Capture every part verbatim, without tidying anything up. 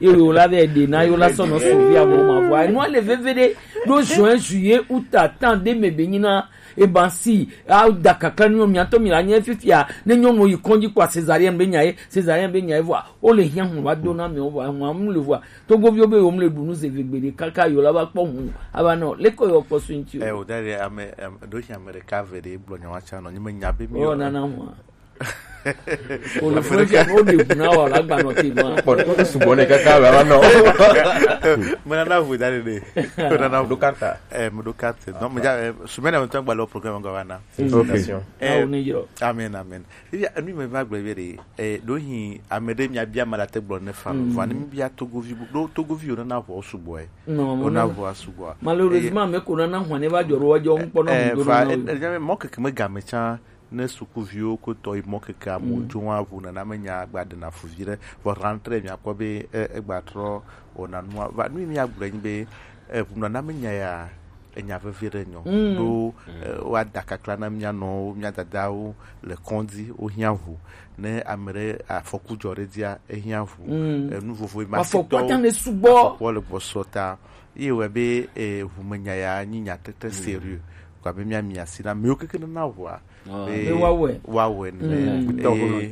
Ye wo la vɛ ɖe na yo la sɔ nɔ suvi amo ma vɔ. Enu ale veve ɖe ɖo juin, juillet, août, temps ɖe me be nyi na. E ba si a da kakla ni mi atɔ mi la nye fifia ne nyɔnu yi kɔndzi kpɔ césarienne be nya ye, césarienne be nya ye vɔ. O le hiã hu va do na mi o vɔ hu am le vɔ. Togoviwo be wo mle ɖu nu ze vegbe ɖe kaka yo la va kpɔ hu. Ava nɔ le ko yo kpɔ su ŋti o. Eh, o da ɖe ame, em, ɖo si ame ɖeka ve ɖe gblɔ nya wa tsa nɔ, nyi me nya be mi o nana hu. O le fún ke o de guna wa la gba nɔ ke ma. Kpɔ ɖe sugbɔ ne kaka va va nɔ. Me nana hu da ɖe ɖe. Me nana hu. Ɖo kata. Eh, me ɖo kata. Donc, me ja, eh, semaine me tɔn gba le programme gba va na. Félicitations. Eh, awo ne yɔ. Amen, amen. Eya, enu me va gblɔ be ɖe, eh, ɖo hi ame ɖe mia bia ma la te gblɔ ne fa. Mm. Vɔ ne mi bia Togovi, ɖo Togovi yo nana ʋɔ sugbɔ, eh. Non, non, non. Ona ʋɔ sugbɔ. Malheureusement, me ko nana ʋɔ ne va jɔ ɖo wa jɔ ŋkpɔ na eh, mu do va, na eh, eh, mɔ keke me game tsa ne sukuviwo ko tɔ yi mɔ keke amu jo wa ʋu nana me nya gba de na fu vi ɖe. Vɔ rentrée mia kpɔ be, eh, e gba trɔ ona nua. Va nu mi agblɔ nyi be, eh, ʋu nana me nya ya. Enya vevi ɖe nyɔ. Mm. Ɖo, eh, woada kakla na mía nɔwo, mía dadawo le kɔndzi, wohiã ʋu. Ne ame ɖe afɔku dzɔ ɖe dzia, ehiã ʋu. Mm. Eh, nu vovo ma afɔku ata ne sugbɔ. Afɔku le gbɔsɔ ta. Ye wɔ be, eh, ʋumenya ya nyi nya très, très sérieux. Kɔ abe mía mi asi na amewo keke nana ʋua. Ah. Be be woawɔe. Woawɔe ne. Mm. Be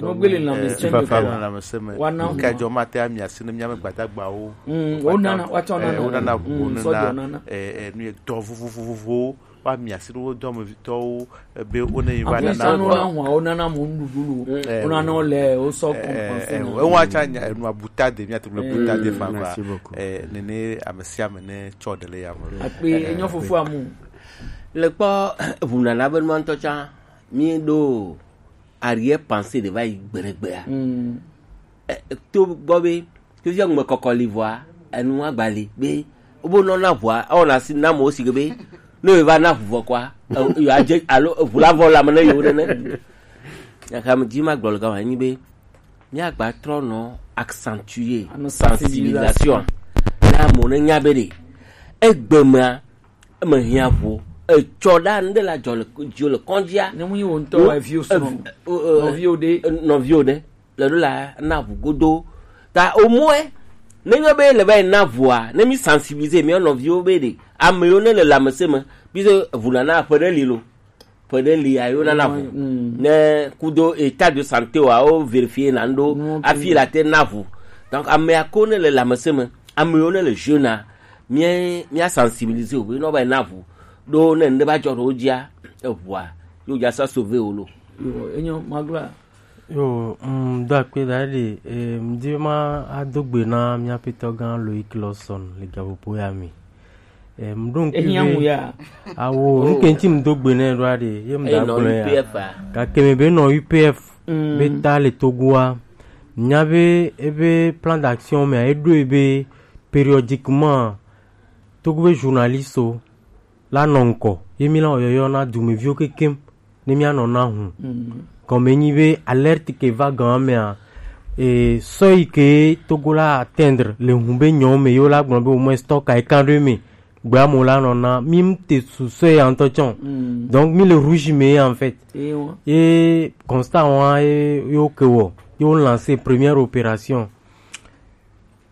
wogbele lãmesẽ me. Woana ŋu. Kajɔ mate ami asi ne mía me gbadagbawo. Mm. Wonana, woatsɔ nana. Eh, wonana ʋu, mm, wonana, sɔjɔ nana. Eh, eh, nu ye dɔ vovovovowo. Woami asi ne wo dɔmevitɔwo, eh, be wone yi va nana ʋua. Wona ʋua, wonana mo nuɖuɖu lo. Eh, wonana wo le, wo sɔ eh, eh, compenser eh, na. Ewa tsa nya, enu abuta de, mía te gblɔ buta de fa. Merci beaucoup. Eh, nene ame sia ame ne tsɔ ɖe le ya me. Akpe, eh, enyo fofo amu. Le kpɔ, ʋunana be nua ŋutɔ tsã, mi ɖo arrière pensée ɖe va yi gbeɖegbea. Mm. Eh, to gbɔ be, to fia ŋme kɔkɔ li vɔa, enu agba li be, wo be nɔ na ʋua, ewɔ na si na mo si ke be, ne wo va na ʋu vɔ kɔa, eh, yo adze, alo ʋu la vɔ la me ne yo nene. Nyaka me dzi ma gblɔ le gama nyi be, mía gba trɔ nɔ accentuer sensibilisation. Na mo ne nya be ɖe, egbe mea, eme hiã ʋu. Etsɔ ɖa ŋɖe la dzɔ le, dzɔ le kɔndzia. Ne mu yi wo ŋutɔ, eviwo srɔ̃. Nɔviwo ɖe. Nɔviwo ɖe. Le ɖo la na ʋu godo. Ta omɔe, ne yɔ be le va yi na ʋua, ne mi sensibiliser mía nɔviwo be ɖe, ame yiwo ne le lãmesẽ me, puisque ʋu nana ƒe ɖe li lo. Ƒe ɖe li ayo nana ʋu. Mm. Ne kudo état de santé wa, wo vérifier na ŋɖo, ok, hafi la te na ʋu. Donc, amea ko ne le lãmesẽ me, ame yiwo ne le jeune a, mía, mía sensibiliser wo be ne va yi na ʋu. Ɖo ne ŋɖe va dzɔ ɖe wo dzia, eʋua, yo dza sa sauver wo lo. Yo, enyo, magla. Yo, mm, do akpe da ɖe, eh, mdi ma ado gbe na mía petɔ gã Loic Lawson le gaƒoƒo ya me. Eh, mɖo ŋkui be, awo, ŋke ŋti mdo gbe nɛ ɖo aɖe, ye mda gblɔ ya. Gake me be nɔ U P F be ta le Togoa. Nya be, ebe plan d'action me, eɖo ebe périodiquement, Togo be journaliste la nɔ ŋkɔ, ye mi la yɔyɔ na dumeviwo kekem. Ne mía nɔ na hu. Mm. Gɔme nyi be alerte ke va gan mea, e, seuil ke Togo la atteindre le hu be nyɔ me yo la gblɔ be au moins stock a ekan ɖe me. Gbe amewo la nɔ na, mi te su seuil ya ŋutɔ tsɔ. Mm. Donc, mi le rouge me en fait. Ewa. Ye constat wa ye, yo ke wɔ, yo lancer première opération.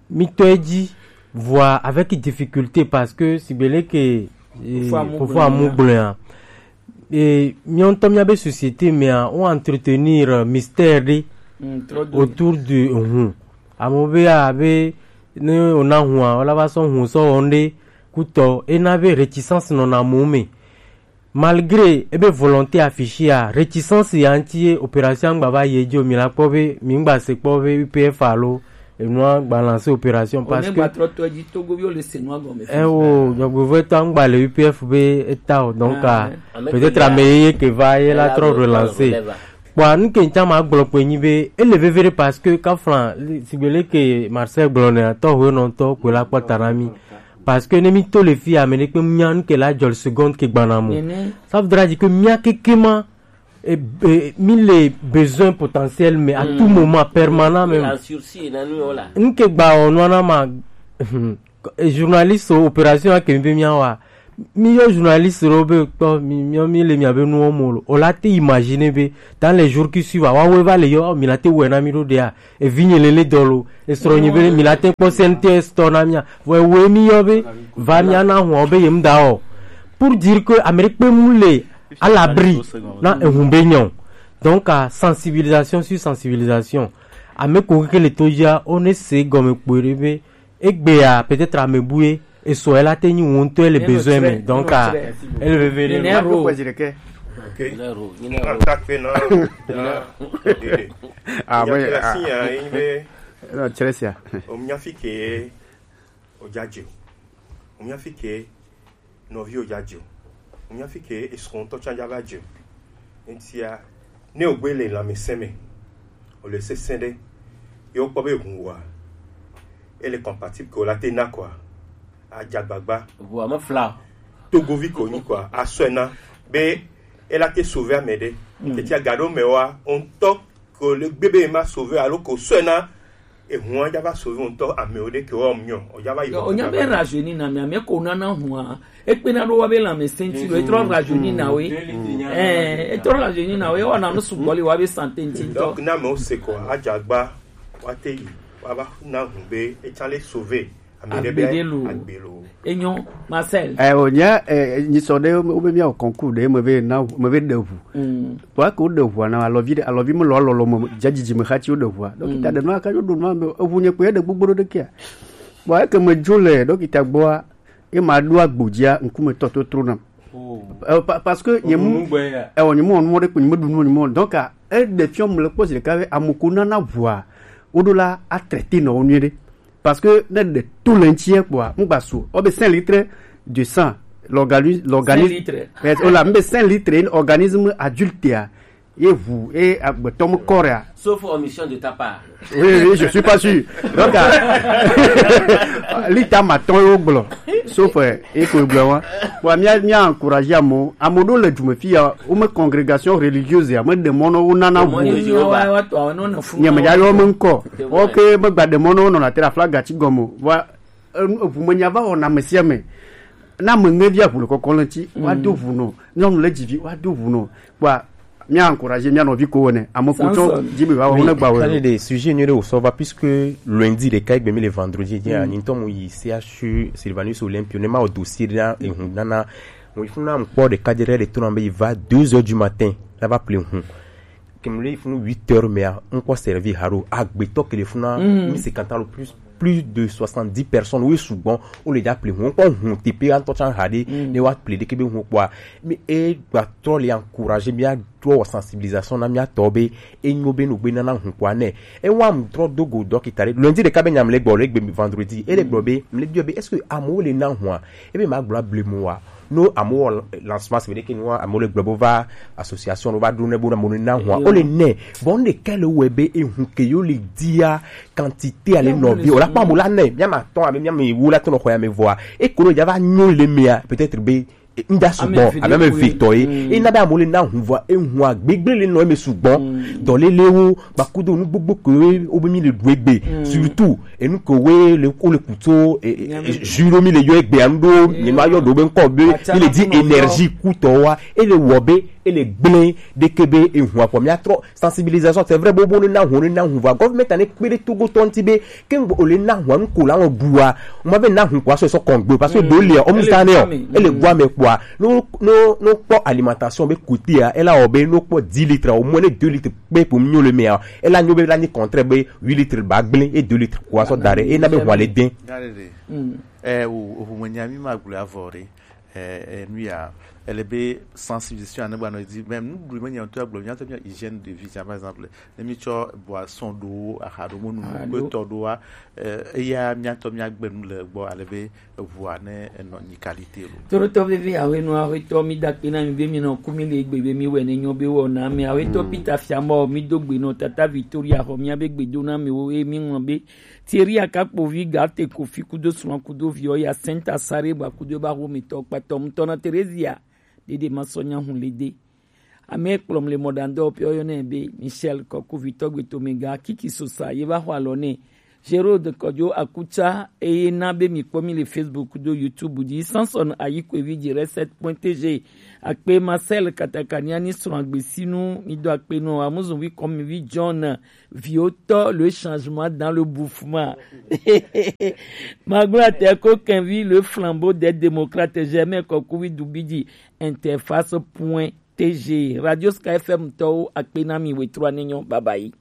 Mi tɔ edzi, vɔa avec difficulté parce que sigbe leke, eh, fofo amu gblɔa, eh, mía ŋutɔ mía be société mea, wo entretenir mystère ɖe autour de hu. Amewo be, ah, be ne wona hua, wola va sɔ hu sɔ wɔ ŋɖe kutɔ, ena be réticence nɔna amewo me. Malgré ebe volonté affichée a, réticence ya ŋti ye opération ŋgba va yi edzi o, mi la kpɔ be, mi ŋgba se kpɔ be U P F alo enua gba lancer opération parce que trɔ to edzi Togoviwo le se nua gɔme. Eh, o, dzɔgbevɔtɔ ŋgba le U P F be eta o, donc, ah, peut-être ame ye ke va ye la trɔ relancer. Kpɔa, nu ke ŋtsa ma gblɔ kpe nyi be, ele veve ɖe parce que kafla, sigbe leke Marcel gblɔ nɛ, atɔ ho nɔ ŋtɔ kpe la kpɔ ta na mi. Parce que ne mi to le fi ame ɖe kpe nya nu ke la dzɔ le seconde ke gbana mo. Nene. Ça voudra dire que mía keke ma, e, e, mi le besoin potentiel, mais à tout moment, permanent même. En sursis, na nu yo la. Nu ke gba o nua na ma, e, journaliste o opération a ke mi be mía wa. Mi yɔ journaliste ɖewo be kpɔ mi, mi, mi le mia be nuwo mo lo. O la te imaginer be dans les jours qui suivent, awa wo va le yɔ, mi la te wɛ na mi ɖo ɖea. Evi nye lele dɔ lo, esrɔ nye be mi la te kpɔ C N T S tɔ na mia. Vɔ ewe mi yɔ be va mia na hɔn be yem da o. Pour dire que Amérique pe mu le à l'abri na ehun be nyɔ. Donc à sensibilisation sur sensibilisation. Ame ko ke le to dza, o ne se gɔme kpo ɖe be egbea peut-être ame bue esɔ ela te nyi wo ŋutɔ le besoin me, donc à ele veve ɖe. Nyine ro. Ok. Nyine ro, nyine ro. Atakpe na. Ah, oui, ah. Nyakla si ya yi be. Non, Chelsea. O nya fi ke o ja je. O nya fi ke nɔvi o ja je. O nya fi ke esrɔntɔ tsa ja va je. Etia ne o gbe le lãmesẽ me. O le sesẽ ɖe. Ye o kpɔ be hu wa. E le compatible ke o la te na quoi. Ajagbagba. Ʋua me fla. Togovi ko nyi quoi. Asɔe na be e la te sauver ame ɖe. Mm. Tete aga ɖo me wa, o ŋutɔ ko le gbe be ma sauver alo ko sɔe na ehun ja va sauver o ŋutɔ ame o ɖe ke wa o nyɔ. O ja va yi. O nya be rajeuni na mi, ame ko nana hua. Ekpena ɖo wa be lãmesẽ ŋuti lo, etrɔ rajeuni na we. Eh, etrɔ rajeuni na we, wa na nu sugbɔ le wa be santé ŋuti ŋutɔ. Donc na me o se ko ajagba wa te yi wa va na hu be e tsa le sauver. Agbe ɖe lo. Agbe lo. Enyo, Marcel. Eh, o nya, eh, nyi sɔ ɖe, o be mia o concours ɖe, me ve na, me ve ɖe ʋu. Mm. Wa ko ɖe ʋua na alɔvi ɖe, alɔvi me lɔ alɔlɔ me, jajiji me xati o ɖe ʋua. Donc, mm, ta ɖe no aka yo ɖo no me, eʋu nye kpe ɖe gbogbo ɖe kia. Bon, eke me dzo le, donc, ta gbɔa, e ma ɖo agbo dzia, ŋkume tɔ to tro nam. Oh. Euh, pa-, parce que nye mu, eh, nye mu, on mode, nye mu ɖu nu, nye mu. Donc, ah, e ɖe fiɔ me le kpɔ zi ɖeka be, ame ko nana ʋua, o ɖo la, a traiter nɔ wo nyuie ɖe. Parce que ne ɖe to le ŋuti kpɔa, ŋgba su. O be cinq litres de sang, l'organi-, l'organisme. Cinq litres. Eh, o la, mbe cinq litres, organisme adulte, ah, ye ʋu, ye agbetɔ me corps, ah. Sauf omission de ta part. Oui, oui, je suis pas sûr. Donc, ah, lita ma tɔn yo gblɔ. Sauf, eh, e ko gblɔ wa. Bon, mia, mia encourager amo. Amo ɖo le dume fi ya, o me congrégation religieuse ya, me ɖe mɔ nɔ wo nana ʋu. Nye me ya yo me ŋkɔ. Ok, me gba ɖe mɔ nɔ wo nɔ na te la flaga ti gɔme. Wa, eʋu me nya va wɔna ame sia ame. Na ame ŋe via ʋu le kɔkɔ le ŋuti, wa do ʋu nɔ. Nyɔnu le dzi vi, wa do ʋu nɔ. Kpɔa, mia encourager mia nɔvi ko wene. Ame ko tsɔ dzi be va wɔ ne gba wɔ. Allez, des sujets nyuie ɖe wòsɔ va, puisque lundi ɖeka egbe mi le vendredi, dzi, mm, anyi ŋutɔ mu yi C H U Sylvanus Olympio, ne ma wɔ dossier ɖe na ehu nana. Mo yi funa ŋkpɔ ɖeka dze ɖe le to na be yi va deux heures du matin, la va ple hu. Ke mu le yi funu huit heures mea, ŋkpɔ servi haɖo, agbetɔ ke le funa, mm, mi se kanta lo plus, plus de soixante-dix personnes, wo sugbɔ, wo le dza ple hu, ŋkpɔ hu tepe antɔ tsan haɖe, mm, ne wa ple ɖe ke be hu kpɔa, mi e gba trɔ le encourager, mia trɔ wɔ sensibilisation na mia tɔ be, e nyo be no gbe nana hu kpɔa nɛ. E wa mu trɔ do go dɔkita ɖe, lundi ɖeka be nya mle gbɔ le gbe vendredi, e le gblɔ be, mle biɔ be, est-ce que amewo le na hua? E be ma gblɔ able mo wa. No amewo wɔ lancement se be ɖeke nua, amewo le gblɔ bo va association ɖo va ɖo ne bo na mo na hua. Yo. O le nɛ. Bon, ne kele wɛ be ehu ke yo le dia quantité ale nɔvi. O la kpɔ amewo la nɛ. Mia ma tɔn abe mia me wo la tɔn xɔ ya me vɔa. E ko no ja va nyo le mea, peut-être be, e, nda sugbɔ, abe me ve tɔ ye. Mm. E na be amewo le na hu vɔa, ehu agbegble le nɔ eme sugbɔ. Mm. Dɔlelewo, bakudo nu gbogbo ke wo be mi le ɖu egbe. Mm. Surtout, enu ke wo le, wo le kuto, e, e, e, juro mi le yɔ egbe anu ɖo, mi ma yɔ ɖo be ŋkɔ be, mi le di énergie kutɔ wa, e le wɔ be, e le gblẽ ɖeke be ehu akɔ. Mia trɔ sensibilisation, c'est vrai, bobo ne na hu, ne na hu va. Government ane kpe ɖe Togo tɔ ŋuti be, ke ŋgbe o le na hu anu ko la ŋɔ ɖua, o ma be na hu ko asɔ sɔ kɔngbe, parce que do lia, o mu sa ne o, e le gua me kpɔa, no, no, no kpɔ alimentation be côté a, e la o be no kpɔ dix litres, au moins ne deux litres kpe pour mieux le meilleur. E la nyo be la ni contraire be huit litres ba gblẽ, e deux litres ko asɔ da ɖe, e na be hu ale den. Mm. Eh, o, o hu mo nya mi ma gblɔ avɔ ɖe. Eh, eh, nu ya, ele be sensibilisation ane gbanɔ dzi, même nuɖuɖu me nya ŋutɔ agblɔ, mía ŋutɔ mía hygiène de vie, tiens, par exemple, ne mi tsɔ boisson ɖo, aha ɖo, mo nu kpe tɔ ɖoa, eh, eya mía ŋutɔ mía gbe nu le gbɔ, ale be eʋua ne enɔ nyi qualité lo. Toɖotɔ vevi awe nu awe tɔ mi da kpe na mi be mi nɔ ku mi le gbe be mi wɛ ne nyɔ be wɔ na mi awe tɔ Peter Fiamɔ mi do gbe nɔ tata Victoria xɔ mía be gbe do na mi wo ye mi ŋlɔ be Thierry Akakpovi, Garte Kofi kudo srɔ̃ kudo viɔ ya Senta Sare ba kudo ba ho mi tɔ kpatɔ mutɔ na Terezia. Dede ma sɔ nya hu le de. Ame kplɔm le mɔɖaŋdɔ pɛ yɔ nɛ be Michel Kɔku vitɔ gbe to me ga kiki sosa ye va xɔ alɔ nɛ. Gerald Kojo Akucha, eye na be mi kpɔ mi le Facebook do YouTube dzi. Samson Ayikwevi dzi reset point T G. Akpe Marcel Katakaniani srɔ̃ agbesinu, mi do akpe nɔ Amuzuvi kɔmivi John Viotɔ, le changement dans le bouffement. Magblɔ tɛ ko kɛnvi le flambeau des démocrates, Germain Kɔkuvi Dubidzi, interface point T G. Radio Sky F M tɔwo, akpe na mi, wetrɔ ne nyɔ, bye bye.